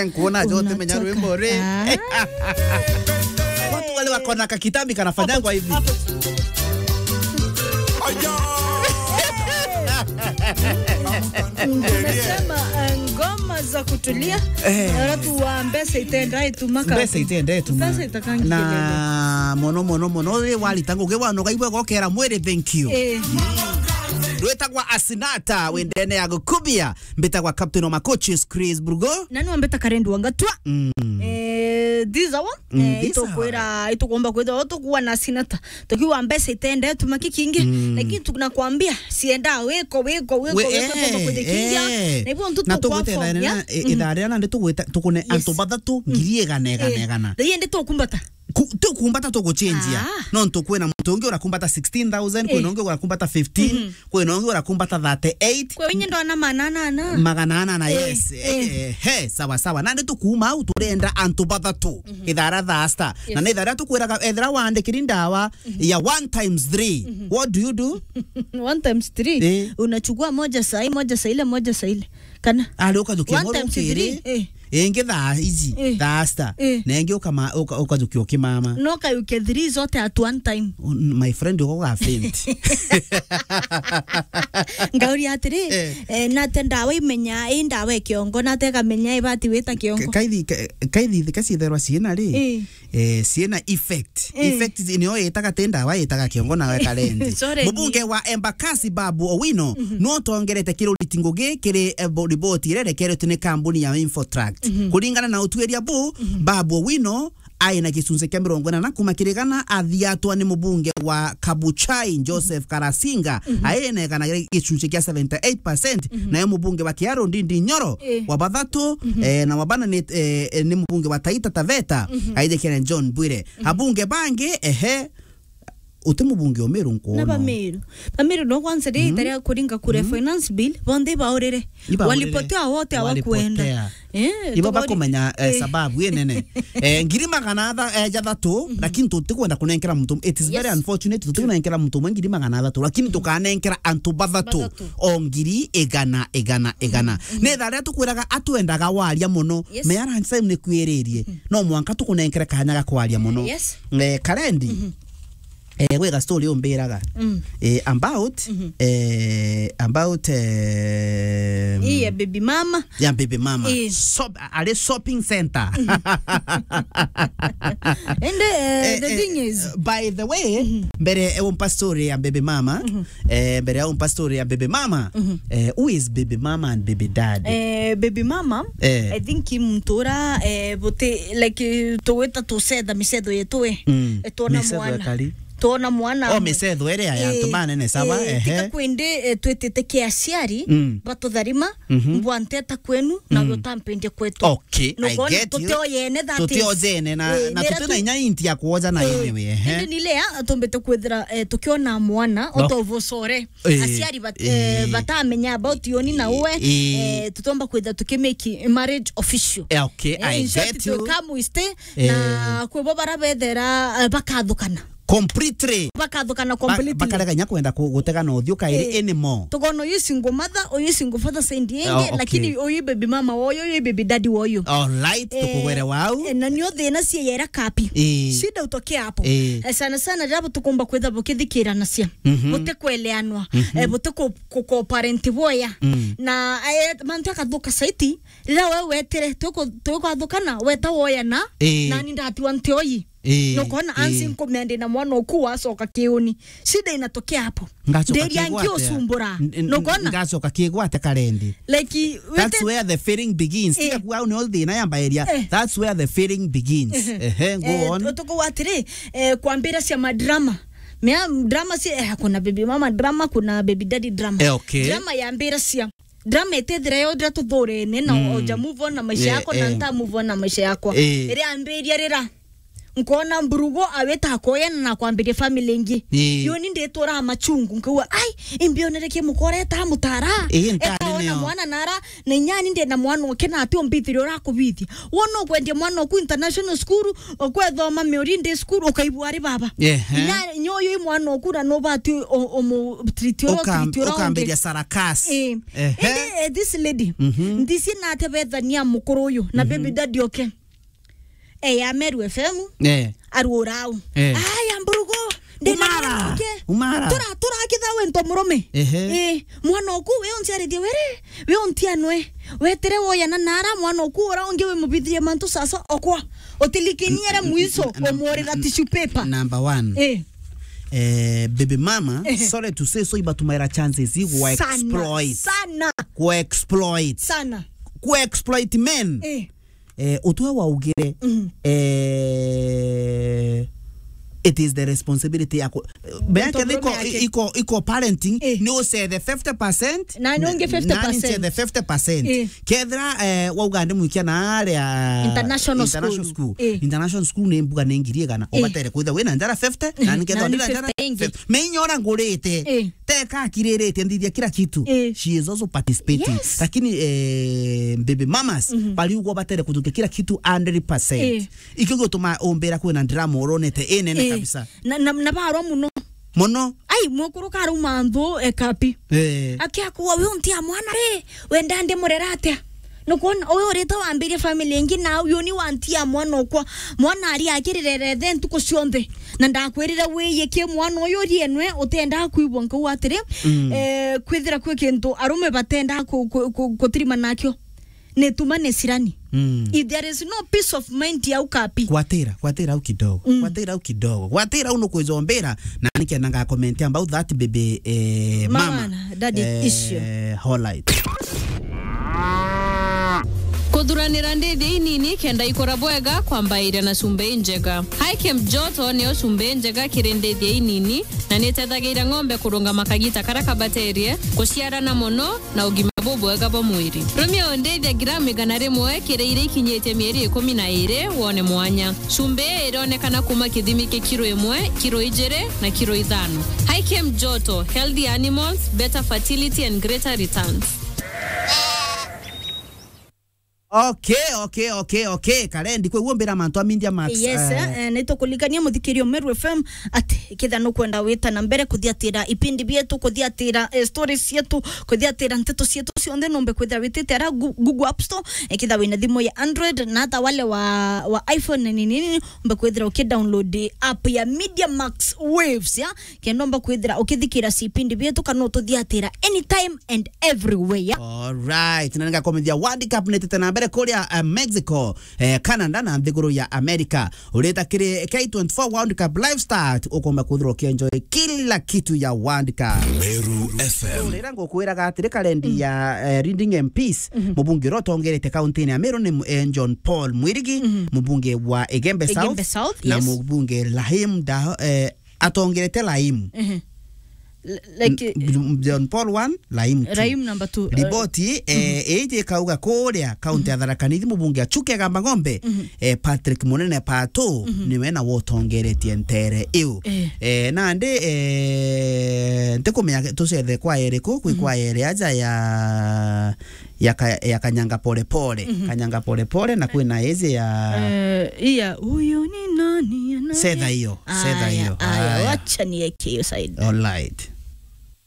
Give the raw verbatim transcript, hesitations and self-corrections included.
Nkuona jo utimenya rwimbo ri. Ah. Watu wale wako na kakitambi kanafanyangwa hivi. Tumesema, eh, ngoma za kutulia. Eh. Watu wa mbeca itenda ituma ka- Mbeca itenda ituma. Mbeca itakangi na kelele. Mono, mono, mono, ri warita ngugi wanoga igwe gokera mwiri, thank you. Eh. Rwitagwa Asinata, wendene ya gukubia, mbitagwa Captain wa Macoaches, Chris Burgo. Na niwe mbita Karendu wa Ngatwa. Mm. Eh, this hour, mm, eh, this hour. Itukwira, itukumba kwithirwa tukuwa na Asinata. Tukiwa mbeca itende tuma kikingi, mm, lakini tunakwambia, sienda wiko, wiko, wiko, we, wiko, eh, tukumba kwithirwa kikingi. Eh. Na hivyo ntu na tukwa tugwita form, ithaa ya? Rina, eh, mhm, ithaa rina nandi tugwita, tukune, yes, antu bathatu, mm, ngiri igana, igana, eh, igana. Ii ndi tukumbata. Ku-, tukumbata tuguchenjia. Ah. No ntu kwina muntu ungi urakumbata sixteen thousand, kwina, eh, ungi urakumbata fifteen, mhm, kwina ungi urakumbata thirty-eight. Kwe winyi ndona manana na. Magana ana na, eh, yes. Eh, eh, eh, he, sawa, sawa. Nandi tukuuma au turenda antu bathatu. Mhm. Ithara thaa sita. Yes. Na ni ithara tukwiraga, ethira waandikiri ndawa, mhm, ya one times three. Mhm. What do you do? One times three? Eh. Unachukua moja saa hii, moja saa ile, moja saa ile. Kana? Ari ukajukia one times three, eh. Ingi thaa iji, eh, thaa sita. Eh. Na ingi ukama-, uka-, ukajukia ukimama. No ukayukia three zote at one time. Un-, my friend, uko ga faint. Ngauri atiri, eh, eh, nate ndawa imenya, i ndawa e kiongo, nate kamenya ibati wita kiongo. Ka-, kaithi, ka-, kaithi thika ciitherwa ciina ri? Eh. Eh, ciina effect. Eh. Effect zi-, nio itaga ti ndawa, itaga kiongo nawe karendi. Sorry. Mubunge wa Embakasi Babu Owino, mhm, no tongerete kiruriti ngugi kiri, eh, bo-, riboti iria irekeretwe ni kambuni ya Infotract. Mhm. Kuringana na utuiria bu, mhm, Babu Owino aina gicunci kia mirongo inana kuma kiri igana, athiatwa ni mubunge wa Kabuchai Joseph Karasinga, mhm, aina igana gicunci kia seventy-eight percent, mhm, nayo mubunge wa Kiharu Ndindi Nyoro, eh, wa bathatu, mhm, eh, na wa bana ni, eh, eh, ni mubunge wa Taita Taveta, mhm, aijikene John Bwire. Mhm. Abunge bangi, ehe, uti mubunge o Meru nkuona. Na ba Meru. Ba Meru no kwanza ri, mhm, itaria kuringa kura, mhm, finance bill, bonthe ibaurire. Ibaurire. Walipotea wote hawakuenda. Walipotea. Eh, ibo tugori-, bakumenya, eh, eh, sababu inene. Eh, ngiri magana atha-, eh, jathatu, mhm, lakini tutikwenda kunenkera muntu. It is very, yes, unfortunate, tutikunengera muntu umwe ngiri magana atatu, lakini tukanenkera antu bathatu. Bathatu. O ngiri igana, igana, igana. Mhm. Ni tharia tukwiraga atwendaga waria muno. Yes. Mea lunch time ni kwiririe. Mhm. No mwanka tukunenkere kanya ga kwaria muno. Yes. Eh, Karendi. Mhm. Eh, gwega story umbiraga. Mm. Eh, about, mhm, eh, about, eh, ii ya baby mama. Ya baby mama. Eh. Shop-, ari shopping center. Mhm. And, eh, eh, the, eh, thing is, by the way, mhm, mbere, eh, umpa story ya baby mama, mhm, eh, mbere ya umpa story ya baby mama, mhm, eh, who is baby mama and baby dad? Eh, baby mama, eh, I think i muntu ura, eh, buti, like, eh, tugwita tucetha micetho yetu, eh. Mm. Eh, twona micetho mwana. Ekari. Twona mwana. Oh, micetho iria ya, eh, antu banene saba, eh, ehe. Tika kwindi, eh, twitite kia aciari, mm, batutharima, mhm, mbwa nteta kwenu, na, mm, utampendia kwetu. Okay, I get you. Nugona tutiojene, that is. Tutiojene na, eh, na nira tutina tu-, inya inti ya kuoja na, eh, anyway, ehe. Indi ni lea atumbite kwithira, eh, tukiona mwana, okay, otovucore. Eh, aciari bat-, eh, eh, batamenya about yoni na uwe, eh, eh, tutomba kwitha tukimake marriage official. Eh, okay, eh, I get you. In short, to come we stay, eh, na kwibo bara bethera, eh, bakathukana. Completely. Bakathukana. Ba-, completely. Bakarega inya kwenda ku-, gutegana uthiu kairi, eh, anymore. Tugona uyu single mother, uyu single father side ingi, oh, okay, lakini uyu baby mama woyo, uyu baby daddy woyo. All right, eh, tukugwere wau. Eh, na nio thina cia yera kapi. Eh. Shida utokea hapo. Eh. Eh, sana sana, rabo tukumba kwitha bukithikiranacia. Mhm. Butikweleanwa, mhm, eh, butiku-, ku-, ku-parent boya. Mm. Na, eh, mantu akathuka saiti, rira we wetire, tuku-, tukwathukana, weta woya na, eh, nani ndatiwa ntioi. Eh, nukona, eh, ansi nkumea ndina mwana uku wacoka kiuni. Shida inatokea hapo. Ngacoka. Nderia kigwate. Ngiusumbura. N-, n-, nukona? Ngacoka kigwate Karendi. Like, that's where the feeling begins. Eh. Tiga kuga au nio thina yambairia. Eh. That's where the feeling begins. Ehe. Ehe, go on. Eh, tukuwa atiri, eh, kwambira cia madrama. Mea drama si, eh, kuna baby mama drama, kuna baby daddy drama. Eh, okay. Drama yambira cia. Drama itethira yo ndira tuthurene na, mm, oja move on na maisha, eh, yako, na, eh, nta move on na maisha yakwa. Eh. Iri ambiria rira. Nkona mburugo awita akoya na nakwambiria family ingi. Ii. Yo ni nditura machungu, nkauga, "Ai, imbionere ki mukora eta mutara." Ii, ntari etaona nio. Mwana nara, na inyani ndi na mwana uke na ati umbithiria urakubithia. Wona ukwendia mwana oku international school, ukwethoma Miori Day School, ukaibua ari baba. Ehe. Inya, nyoyo i mwana oku na nubati umu treat ura Ukam-, treat ura ukambiria ungi. Sarakasi. Ii. Ehe. Indi, eh, this lady, mhm, ndisi na ate bethania mukuru uyu, na mhm, baby daddy oke. Eh, ya Meru F M. Eh. Aruurau. Eh. Aya, mburugo. Ndina Umara. Mwana oke. Umara. Tura, tura kitha wento murume. Ehe. Eh, mwana oku, we unciarithie were, we untianwe. Wetire woya na nara, mwana oku ura ungi we mubithirie mantu sasa okwa. Utilikiniere mwiso, na, na, umurira na, tissue paper. Number one. Eh. Eh, baby mama, ehe, sorry to say so, ibatumaira chances igu wa sana, exploit. Sana. Ku exploit. Sana. Ku exploit men. Eh. Eh, utwe waugire, mhm, eh, it is the responsibility yako. Beke iko, iko, iko parenting, eh, ni ucethe fifty percent, na ni ungi fifty percent. Na ni ncethe fifty percent. Eh. Kethira, eh, wauga ndi mwikia na aria international school. International school. Eh. International school ni mbuga ni ngiri igana. Eh. Ubatere kwitha wina njara fifty, eh, na ni ketha na ni ndira njara fifty ingi. Fifty. Me inya ura ngurite. Eh. Teka akiriritie nthithia kila kitu. Eh. She is also participating. Yes. Lakini, eh, baby mamas, mhm, bariugwa batere kuthukia kila kitu hundred percent. Eh. Ikio gituma umbira kwina drama uronete inene, eh, kabisa. Na, na, na barwa muno. Muno. Ai, mukuru karauma nthu ekapi. Eh. Akiakua, "We untia mwana ri, wenda ndi murera atia?" Nukwona, uyu urite wambirie family ingi, na uyu ni wantia mwana okwa. Mwana ari akirire rethe ntuku cionthe. Na ndakwirire wiyie ki mwana uyu rienwe, utenda kwigua nkauga atiri, mm, eh, kwithira kwi kintu arume batenda ku-, ku-, ku-, kutirima nakio. Ni tuma ni sirani. Mm. If there is no peace of mind ya ukapi. Gwatira, gwatira au kidogo. Mm. Gwatira au kidogo. Gwatira au nukwijombira, na nikenda nga comment about that, baby, eh, mama, mama, daddy, eh, issue. Holite. Kuthuranira ndithia inini kenda ikura bwega kwambairia na cumbi injega. High Camp Joto niyo cumbi injega kiri ndithia inini na nitethagiria ng'ombe kurungama kagita karia kabaterie, kuciarana mono na ugima bubwega bwa mwiri. Rumia undithia gramu igana rimwe kiri iria ikinyitie mieri ikumi na iri wone mwanya. Cumbi ii ironekana kuma kithimi kia kiro imwe, kiro ijiri na kiro ithano. High Camp Joto, healthy animals, better fertility and greater returns. Okay, okay, okay, okay. Karendi, kwe uo mbira mantu a Media Max, yes, eh, eh, nitukulikania muthikirio Meru F M ati kethira nukwenda wita na mbere kuthiatira ipindi bietu, kuthiatira, eh, stories cietu, kuthiatira nteto cietu cionthe, numbe kwithira witite ara Gu-, Google App Store, eh, kethira wina thimu ya Android, na hata wale wa, wa iPhone nini nini, umbe kwithira ukidownload app ya Media Max Waves, ya, kenda umba kwithira ukithikira cipindi bietu kana ututhiatira anytime and everywhere. Alright, na ningakomithia World Cup nitite na mbere kuria, eh, Mexico, eh, Canada na nthiguru ya America. Urita kiri K twenty-four World Cup live start, ukomba kwithirwa ukienjoy kila kitu ya World Cup. Meru F M. Rira ngukwiraga atiri, karendi, mm, ya, eh, Reading M Ps, mhm, mubunge uria utongerete kaunti-ini ya Meru ni, eh, John Paul Mwirigi, mhm, mubunge wa Igembe, Igembe South, South, na, yes, mubunge Rahim Da-, eh, atongerete Rahim. Ehe. L-, like, n-, John Paul one, Rahim two. Rahim number two, eh. Riboti, eh, mhm, iji ikauga kuria kaunti ya, mhm, Tharaka Nithi, mubunge Achuki Agamba Ng'ombe, mhm, eh, Patrick Munene Pato, mhm, niwe na wotongeretie ntere iu. Eh. Eh, nandi, eh, ntikumenya tucethe kwaya iriku, kwi, mhm, kwaya iri aja ya ya ka-, ya Kanyanga Pole Pole. Mhm. Kanyanga Pole Pole, na kwina iji ya, eh, iya, "Huyu ni nani, nani?" Cetha iyo, cetha iyo. Aya, aya, aya. Wacha nieke hiyo side. Alright.